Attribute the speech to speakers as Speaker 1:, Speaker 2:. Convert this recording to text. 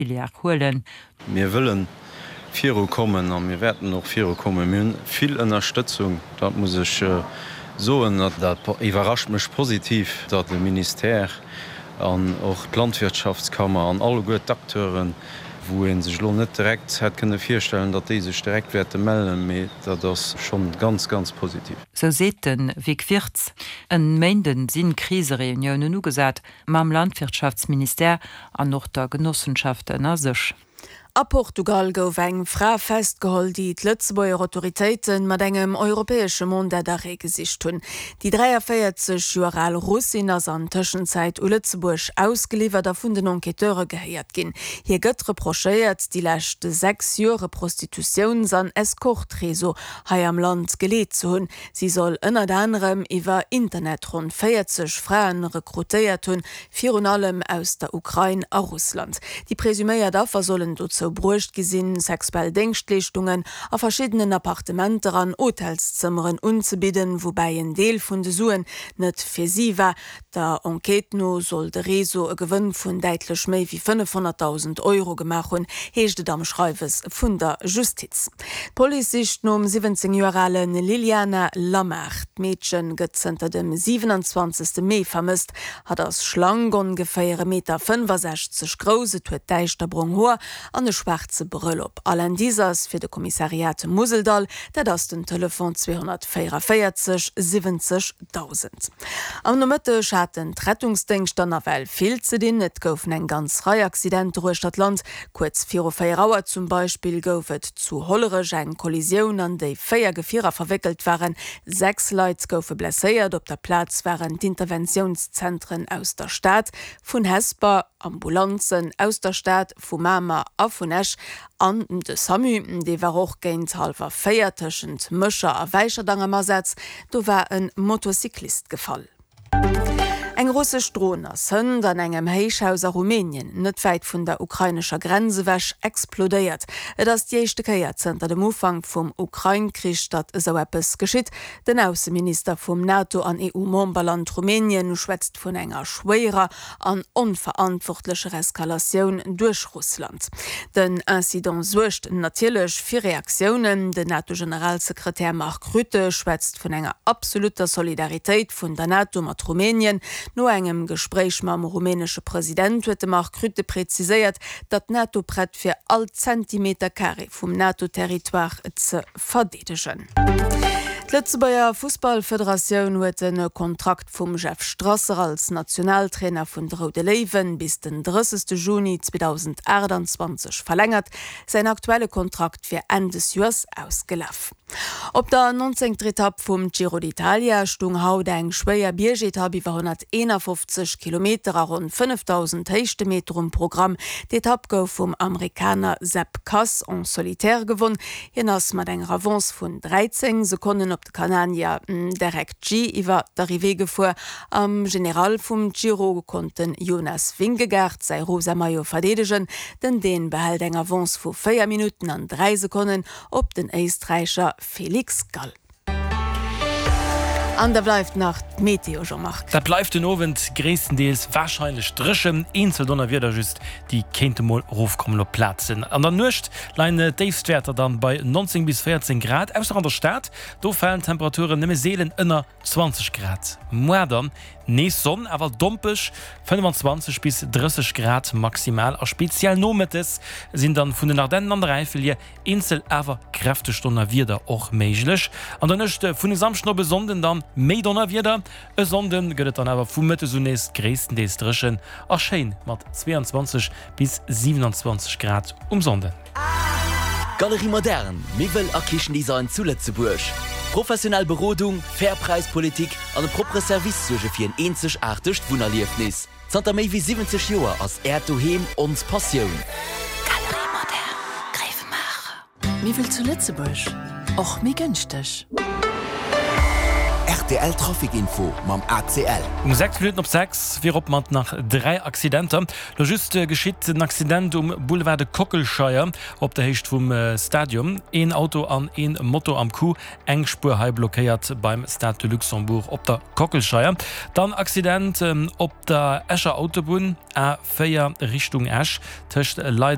Speaker 1: Filière huelen.
Speaker 2: Mir wëlle viru kommen a mir wäerten och viru kommen. Mir hunn vill Ënnerstëtzung, dat muss ech soen. Dat iwwerrascht mech positiv, datt de Ministère an och d'Landwirtschaftskammer an alleguer d'Acteuren, wou ee sech elo net direkt hätt kënne virstellen, datt déi sech direkt wäerte mellen, mee dat ass schonn ganz, ganz positiv.
Speaker 1: Sou seet de Vic Wirtz. En Méinden sinn Krisereuniounen ugesat. Mam Landwirtschaftsministère an och der Genossenschaft ënner sech.
Speaker 3: A Portugal gouf eng Fra festgeholl, déi d'Lëtzebuerger Autoritéite mat engem europäesche Mandat d'arrêt gesicht hunn. Déi 43 Joer al Russin ass an Tëschenzäit u Lëtzebuerg ausgeliwwert a vun den Enquêteure gehéiert ginn. Hir gëtt reprochéiert, déi lescht 6 Joer e Prostitutiouns an Escorte-Réseau hei am Land geleet ze hunn. Si soll ënnert anerem iwwer Internet ronn 40 Frae rekrutéiert hunn, virun allem aus der Ukrain a Russland. Déi presuméiert Affer sollen dozou bruecht gi sinn, sexuell Déngschtleeschtungen a verschiddenen Appartementer an Hotelszëmmeren unzebidden, woubäi en Deel vun de Suen net fir si war. Der Enquête no soll de Réseau e Gewënn vun däitlech méi wéi 500.000 Euro gemaach hunn, heescht et am Schreiwes vun der Justiz. D'Police sicht nom 17 Joer ale Liliana Lamar. D'Meedche gëtt zënter dem 27. Mee vermësst. Hatt ass schlank, ongeféier e Meter 65 grouss, et huet däischterbrong Hoer an e schwaarze Brëll op. All Indice ass fir de Kommissariat Museldall, dat ass den Telefon 244 70 1.000. Am Nomëtteg haten d'Rettungsdéngschter nawell vill ze dinn. Et goufen eng ganz Rei Accidenter uechter d'Land. Kuerz viru 4 Auer zum Beispill gouf et zu Hollerech eng Kollisioun, an déi 4 Gefierer verwéckelt waren. 6 Leit goufe blesséiert. Op der Plaz waren d'Interventiounszentren aus der Stad, vun Hesper, Ambulanzen aus der Stad, vu Mamer a vun Esch an de Samu, dee war och géint hallwer 4 tëschent Mécher a Wäicherdang am Asaz. Do war e Motocyclist gefall. Eng russesch Dron ass hënt an engem Héichhaus a Rumänien, net wäit vun der ukrainescher Grenz ewech, explodéiert. Et ass déi éischte Kéier zënter dem Ufank vum Ukrain-Krich, datt esou eppes geschitt. Den Ausseminister vum NATO an EU-Memberland Rumänien schwätzt vun enger schwéierer an onverantwortlecher Eskalatioun duerch Russland. Den Incident suergt natierlech fir Reaktiounen. Den NATO-Generalsekretär Mark Rutte schwätzt vun enger absolutter Solidaritéit vun der NATO mat Rumänien. No engem Gespréich mam rumänesche President huet de Mark Rutte preziséiert, datt d'NATO prett wier, all Zentimeter Carré vum NATO-Territoire ze verdeedegen. D'Lëtzebuerger Fussballfederatioun huet de Kontrakt vum Jeff Strasser als Nationaltrainer vun de Roude Léiwen bis den 30 Juni 2028 verlängert. Säin aktuelle Kontrakt wier Enn des Joers ausgelaf. Op der nonzéngter Etapp vum Giro d'Italia stung haut eng schwéier Biergetapp iwwer 151 Kilometer a ronn 5.000 Héichtemeter um Programm. D'Etapp gouf vum Amerikaner Sepp Kuss en solitaire gewonn. Hien ass mat enger Avance vun 13 Sekonnen op de Kanadier Derek Gee iwwer d'Arrivée gefuer. Am General vum Giro konnt de Jonas Vingegaard säi rosa Maillot verdeedegen. Den Dän behält eng Avance vu 4 Minutten an 3 Sekonnen op den Éisträicher Felix Gall. An da bleift nach d'Meteo, Jean-Marc.
Speaker 4: Dat bleift den Owend gréisstendeels warscheinlech dréchen, eenzel Donnerwieder just, déi kéinte mol erofkommen op Plazen. An der Nuecht leien d'Déifstwäerter dann bei 19 bis 14 Grad, ausser an der Stad, do falen d'Temperaturen nëmme seelen ënner 20 Grad. Moar dann nees Sonn, awer dompeg, 25 bis 30 Grad maximal a speziell nomëttes sinn dann vun den Ardennen an der Äifel hier Eenzel awer kräfteg Donnerwieder och méiglech. An der Nuecht vun e Samschden op e Sonnden dann méi Donnerwieder. E Sonnde gëtt et dann awer vu Mëttes un nees gréisstendeels dréchen a schéin mat 22 bis 27 Grad um Sonnden.
Speaker 5: Galerie Moderne, Miwwel a Kichendesign zu Lëtzebuerg. Professionell Berodung, fair Präispolitik an e proppere Service suerge fir en eenzegaartegt Wunnerliefnis. Zanter méi wéi 70 Joer ass Äert Doheem ons Passioun.
Speaker 6: Galerie Moderne, Gréiwemaacher.
Speaker 7: Miwwel zu Lëtzebuerg, och méi gënschteg.
Speaker 5: Rtl Trafic Info mam ACL.
Speaker 4: Um 6 Minutten op 6 virop mat nach 3 Accidenter. Lo just geschitt en Accident um Boulevard de Kockelscheier op der Héicht vum Stadion. Een Auto an een Moto am Coup. Eng Spuer hei blockéiert beim Stade de Luxembourg op der Kockelscheier. Dann Accident op der Escher Autobunn, A 4 Richtung Esch, tëscht Leideleng.